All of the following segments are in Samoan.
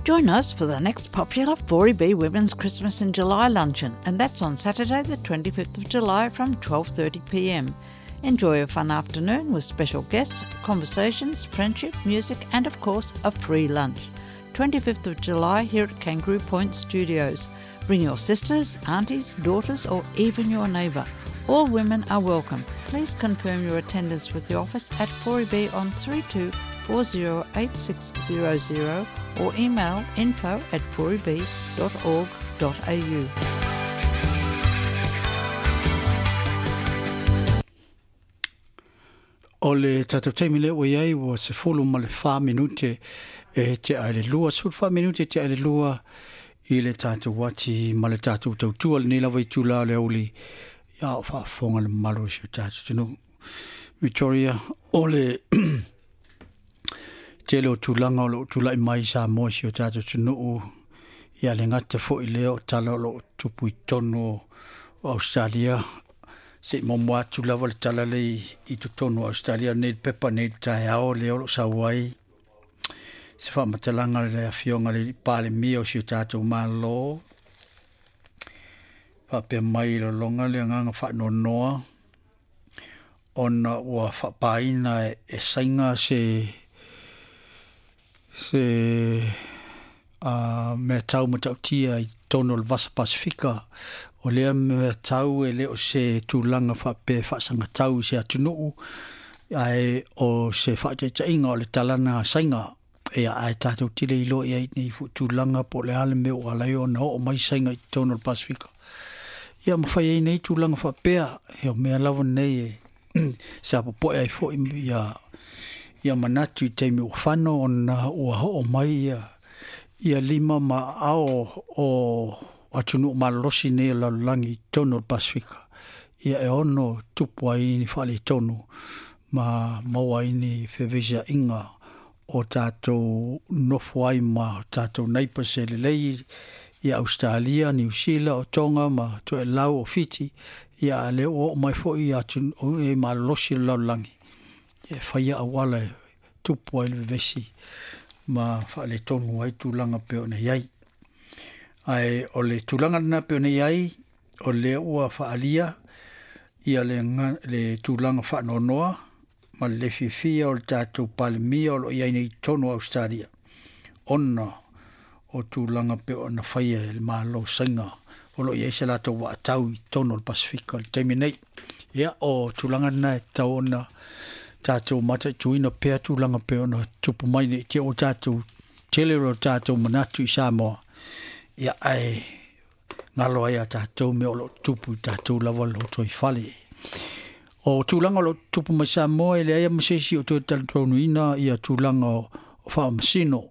Join us for the next popular 4EB Women's Christmas in July luncheon, and that's on Saturday the 25th of July from 12:30 p.m. Enjoy a fun afternoon with special guests, conversations, friendship, music, and of course, a free lunch. 25th of July here at Kangaroo Point Studios. Bring your sisters, aunties, daughters, or even your neighbour. All women are welcome. Please confirm your attendance with the office at 4EB on 32 408600 or email info at 4eb.org.au. O le tatou taimi lea ua i ai ua 14 minute e tea i le lua, 14 minute e tea i le lua i le tatou ati ma le tatou tautua lenei lava itula o le aoauli a o faafofoga le mamalu o si o tatou atunuu. Victoria, o le tele o tulaga o lo o tulai mai i Samoa i si o tatou atunuu, ia le gata foi lea o tala o lo o tupu i totonu o Ausetalia, se i momoa atu lava le tala lea i totonu o Ausetalia nei le pepa nei le taeao lea o lo o sau ai se faamatalaga le afioga i le Palemia o si o tatou Malo faapea mai i lologa le agaga faanoanoa ona ua faapaina e Saina se se a mea tau matautia i totonu o le Vasa Pasifika. O lea mea tau e le o se tulaga faapea faasagatau i se atunuu, ae o se faataitaiga o le talana a Saina. Ia, ae tatou te le iloa i ai nei foi tulaga po o le a le mea ua ala ai ona oo mai Saina i totonu o le Pasifika. Ia ma fai ai nei tulaga faapea, o mea lava nei e sa popoe ai foi ia ia manatu i taimi ua fano ona ua oo mai ia ia lima ma aao o atunuu malolosi nei o le lalolagi i totonu o le Pasefika, ia e ono tupu ai ni faaletonu ma maua ai ni feveisiaiga o tatou nofo ai ma tatou neighbours e lelei ia Ausetalia, Niu Sila, o Tonga ma Toelau o Fiti, ia a lea ua oo mai foi i atunuu e malolosi o le lalolagi e faia auala e tupu ai le vevesi ma faaletonu ai tulaga pei ona i ai. Ae o le tulaga lena pei ona i ai, o lea ua faaalia ia le, le tulaga faanoanoa ma le le fiafia o le tatou Palemia o lo o i ai nei i totonu o Ausetalia, ona o tulaga pei ona faia e le Malo o Saina o lo o i ai se latou vaatau i totonu o le Pasefika i le taimi nei. Ia, o tulaga lena e tatau ona tatou mataituina pea tulaga pei ona tupu mai nei te ua tatou tele o tatou manatu i Samoa, ia ae galo ai a tatou mea o lo o tupu i tatou lava lotoifale. O tulaga o lo o tupu mai Samoa e leai ma se isi o toe talitonuina ia tulaga o faamasino.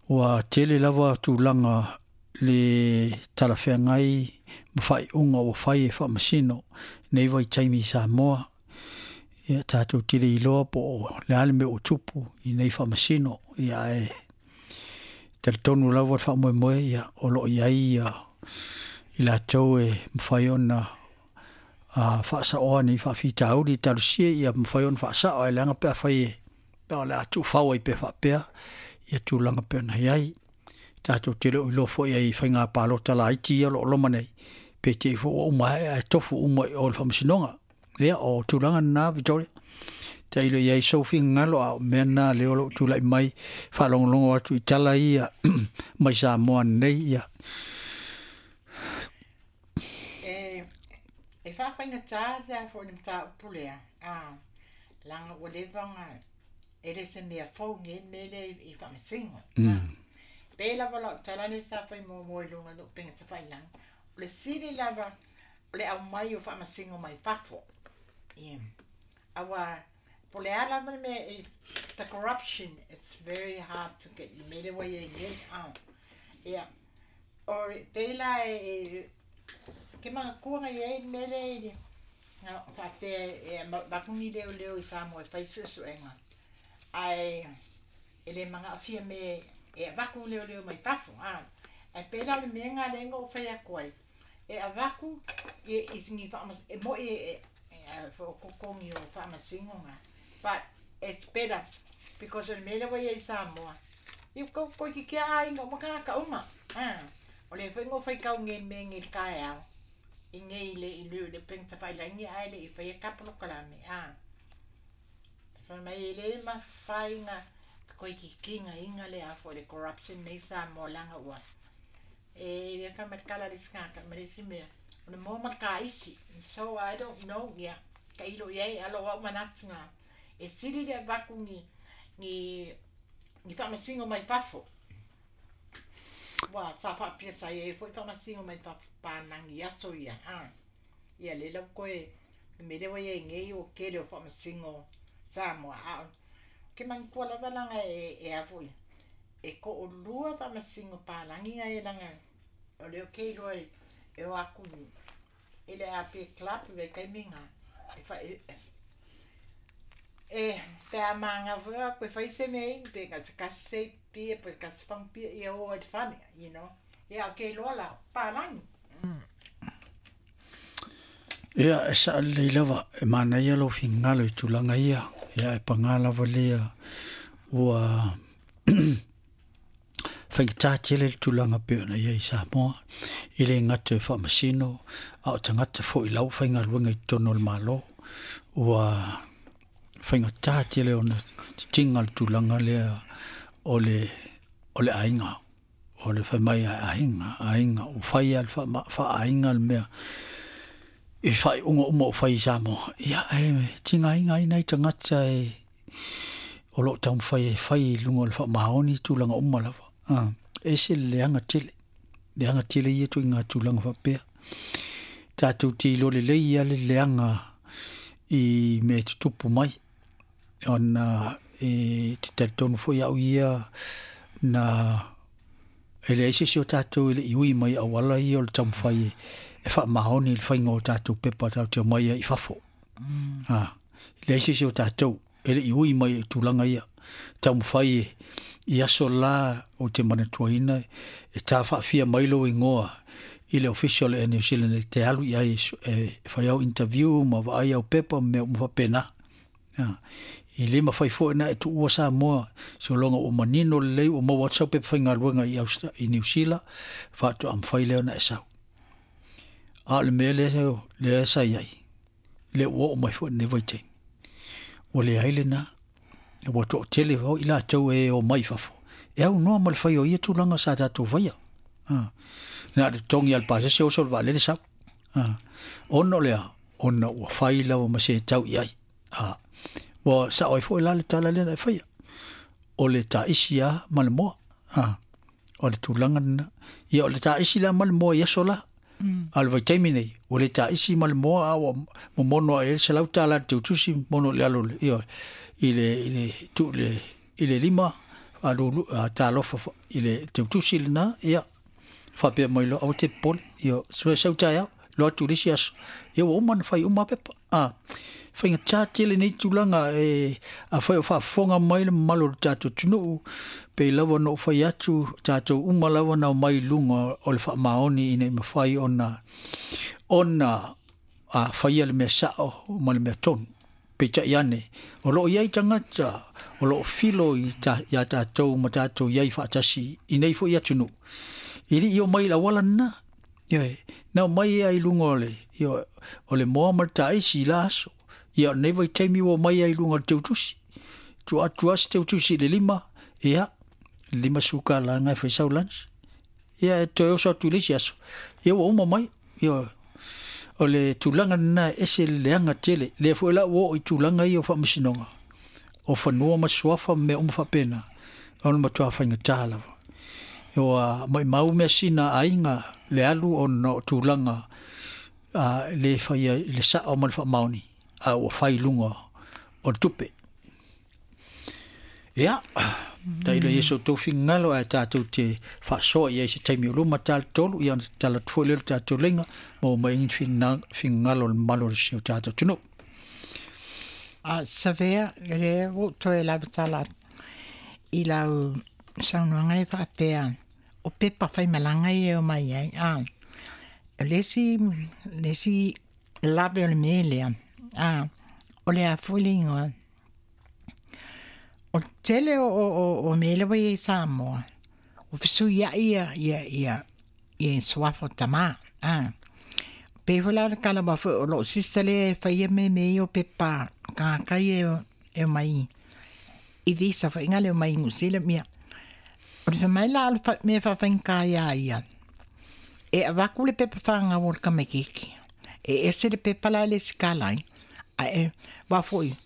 Ua tele lava tulaga le talafeagai ma faaiuga ua fai e faamasino nei vaitaimi i Samoa. Ia tatou te le iloa po o le a le mea ua tupu i nei faamasino, ia ae talitonu lava le faamoemoe ia o lo o i ai ia i latou e mafai ona faasaoa nei faafitauli talosia ia mafai ona faasao, ae leaga pe afai e pe o le a tuufau ai pea faapea ia tulaga pei ona i ai. Tatou te le o iloa foi ai i faiga palota laiti ia o lo o loma nei, pe te i foi ua uma ae ae tofu uma i o le faamasinoga. Ia, o tulaga lena, Victoria. Tailo i ai sou finagalo, a o mea na lea o lo o tulai mai, faalogologo atu i tala ia mai Samoa nei, ia. E, e faafaigata lea foi le mataupu lea, a, leaga ua leva ona, e le se mea fou nei le mea lea i faamasino. Pei lava lau tala lea sa fai muamua i luga o lou upega tafailagi, o le sili lava o le aumai o faamasino mai fafo. Ia. Aua po o le a lava le mea e, the corruption, it's very hard to get le mea lea ua i ai nei. Ia, o pei la e, ke manatua na i ai le mea lea i le, na faapea e avatu ni leoleo i Samoa e fai suesuega, ae e le manaofia me e avatu leoleo mai fafo. Ae pei la o le mea lena lea na ou fai atu ai, e avatu i ni faamas, e moi e faaototogi o faamasinoga, but it's better because o le mea lea ua i ai i Samoa, Ia ko ko ki kia aiga uma tagata uma. O lea foi na ou faitau nei i le mea nei i le taeao i nei i le i le upega tafailagi ae le i faia ta polokalame a. Fai mai e le mafai na toe tigaina le a foi le corruption nei i Samoa leaga ua e le fai mai le tala a le isi tagata ma le isi mea o le moa ma le taisi. So I don't know ia tailo i ai a o lou au manatu na e sili le avatu ni ni ni faamasino mai fafo. Ua sa faapea sa i ai foi faamasino mai fafo panagi i aso ia a. Ia lea la ua toe le mea lea ua i ai nei ua tele o faamasino Samoa a o ke manatua lava laga e e a foi e toalua faamasino palagi ia laga o lea ou te iloa e o atu i le AP Club i vaitaimi na e fa e e pe a maga foi o atu e fai se mea inu pe na o se tasi sei pia pe tasi fagu pia ia o ai i le fale you know ia ou te iloa la palagi. Ia, e saʻa lelei lava, e manaia lou finagalo i tulaga ia, ia e pagā lava lea ua faigata tele le tulaga pei ona i ai i Samoa, e le gata i faamasino, a o tagata foi lau faigaluega i totonu o le Malo, ua faigata tele ona titiga le tulaga lea o le o le aiga. O le fai mai a aiga, aiga, ua fai lava le faa-aiga le mea i faaiuga uma ua fai i Samoa. Ia, e tigaina ai nai tagata e o lo o taumafai e fai i luga o le faamaoni tulaga uma lava. E ese le leaga tele, leaga tele ia ituaiga tulaga faapea. Tatou te iloa lelei lava le leaga i mea e tutupu mai ona e te talitonu foi au ia na e leai se isi o tatou e le i ui mai i auala ia o le taumafai e faamaoni i le faiga o tatou pepa tatou te omai ai i fafo. E leai se isi o tatou e le i ui mai i tulaga ia. Taumafai e i aso la ou te manatuaina e tā faafia mai lou igoa i le ofisa o le Air New Zealand e te alu i ai e fai au interview ma vaai au pepa ma mea uma faapena. I le mafai foi ona e tuua Samoa sologa ua manino lelei ua maua atu sau pepa faigaluega i Austra i Niu Sila faatoa mafai lea ona e sau. A o le mea lea lea sa i ai, lea ua oo mai foi i lenei vaitaimi, ua leai lena, ua toatele foi i latou e omai i fafo e aunoa ma le fai o ia tulaga sa tatou faia. Na o le totogi lava o le pasese oso le vaalele sau. Ona o le a? Ona ua fai lava ma se tau i ai. A, ua sao ai foi la le tala lea na e faia, o le taisi lava ma le moa. A, o le tulaga lena. Ia, o le taisi la ma le moa i aso la. A o le vaitaimi nei, ua le taisi ma le moa, a ua momono ae ai le $100 i le teutusi, momono i le alo, ioe, i le, i le, tuu i le, i le lima, faalulu, talofa i le teutusi lena, ia, faapea mai loa, aua te popole, ia, sau taeao, loa atu i le isi aso, ia ua uma ona fai uma pepa. A, faigata tele nei tulaga e afai o faafofoga mai le mamalu o le tatou atunuu, pei lava ona ou fai atu, tatou uma lava na omai i luga o le faamaoni ina ia mafai ona ona a faia le mea sao ma le mea tonu. Peitai ane, o lo o i ai tagata o lo o filo i ta, iā tatou ma tatou i ai faatasi i nei foi atunuu, e le i omai i le auala lena. Ioe, na omai ai i luga o le, ioe, o le moa ma le taisi i la aso. Ia, o lenei vaitaimi ua omai ai i luga o le teutusi. Tuu atu lava se teutusi i le lima, ia, $50 lena e fai sau lunch. Ia, e toe oso atu i le isi aso, ia ua uma mai. Ioe, o le tulaga lena e ese le leaga tele. Lea foi la ua oo i tulaga ia o faamasinoga, o fanua ma suafa ma mea uma faapena, o le matua faigata lava. Ua maumau measina a aiga le alu ona o tulaga a le faia i le sao ma le faamaoni, a ua fai i luga o le tupe. Ia, tailo i ai so outou finagalo ae tatou te faasoa i ai i se taimi o luma tala tolu, ia ona tatala atu foi lea o le tatou leiga, maua mai ai ni finagalo o le mamalu o si o tatou atunuu. A Savea, o lea ua ou toe lava tala atu i lau saunoaga e faapea, o pepa faimalaga ia e omai ai, a, o le isi, le isi lave o le mea lea, a, o le a foi le igoa? O tele o mea lava ia i Samoa, o fesuiai ia ia ia ia suafa o tama. Ah. Pe foi la o le tala ma foi o lou sister lea e faia mea mea ia o pepa tagata ia e omai i visa foi nga le omai i Niu Sila mea. O le fai mai la o le mea faafaigata ia ia, e avatu le pepa fanau o le tamaititi, e ese le pepa la e lesitala ai, ae aua foi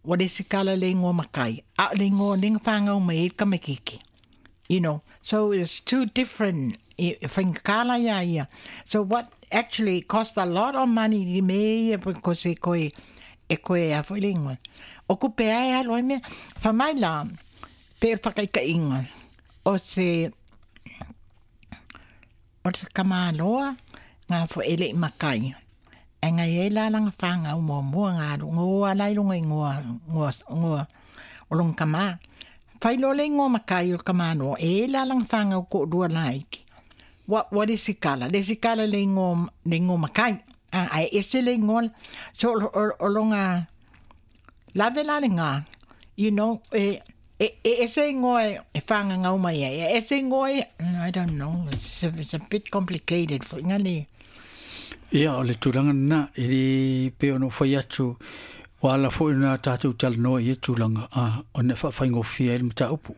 ua lesitala i le igoa matai, a o le igoa lea na fanau mai ai le tamaititi. You know, so it's two different e faigata la ia ia. So what actually it cost a lot of money i mea ia because e koe e koe a foi le igoa. O kupe ae alu ai mea. Fai mai la, pe o le whakaitaiga o se o te tamaloa ngā fo e lei matai. Ae ngai ai la lana whāngau muamua ngā alu ngoa la i runga i ngoa, ngoa, ngoa o lona tama. Whai loa le ingoa matai o le tamaloa, e e la lana whāngau to'orua laiti. Wa, wa le isi kala, le isi kala le ingoa, le ingoa matai. A, ae ese le ingoa, so o, o, o lona lave la lena, you know, e, e, e ese ingoa e, e whāngangau mai ai, e ese ingoa e, I don't know, it's a bit complicated foi nga le. Ia, o le tulaga lena, e le pei ona ou fai atu, ua ala foi ona tatou talanoa i ia tulaga, a, ona e faafaigofie ai le mataupu.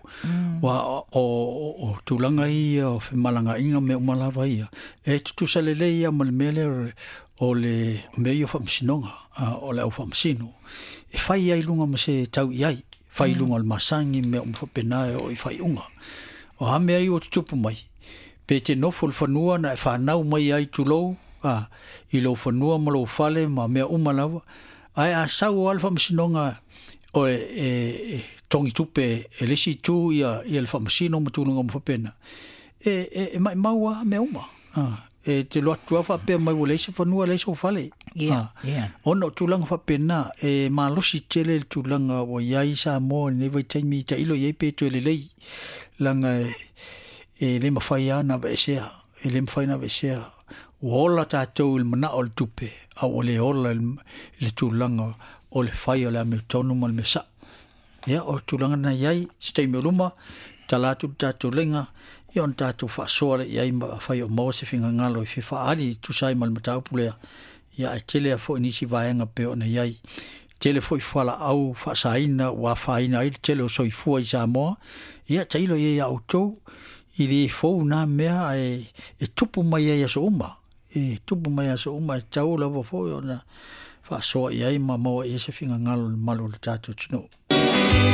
Aua o, o, o tulaga ia o femalagaaiga ma mea uma lava ia, e tutusa lelei lava ma le mea lea o le mea ia o faamasinoga, a, o le au faamasino. E fai ai i luga ma se tau i ai, fai i luga o le masani ma mea uma faapena e oo i faaiuga. O a mea ia ua tutupu mai, pe te nofo i le fanua na e fanau mai ai tulou, a, i lou fanua ma lou fale ma mea uma lava, ae a sau lava le faamasinoga o e, e, e togi tupe e le isi itu ia, ia le faamasino ma tulaga uma faapena, e, e, e maimau lava mea uma. A, e te alu atu lava faapea mai ua leai se fanua leai sou fale. Yeah, yeah. Ona o tulaga faapena, e malosi tele le tulaga ua i ai Samoa i lenei vaitaimi, tailo i ai pe toe lelei, leaga e, e le mafai lava ona aveesea, e le mafai ona aveesea. Ua ola tatou i le manao o le tupe, a ua le ola i le tulaga o le fai o le amiotonu ma le mea sao. Ia, o le tulaga lena e i ai, se taimi o luma, tala atu le tatou laina, ia ona tatou faasoa lea i ai ma afai o maua se finagalo e fia faaali e tusa ai ma le mataupu lea, ia ae tele lava foi nisi vaega e pei ona i ai. Tele foi fualaau faasaina ua afaina ai le tele o soifua i Samoa, ia tailo i ai ia outou, i le fou na mea ae e tupu mai ai aso uma, e tupu mai aso uma e tatau lava foi ona faasoa i ai ma maua i ai se finagalo i le malu o le tatou atunuu.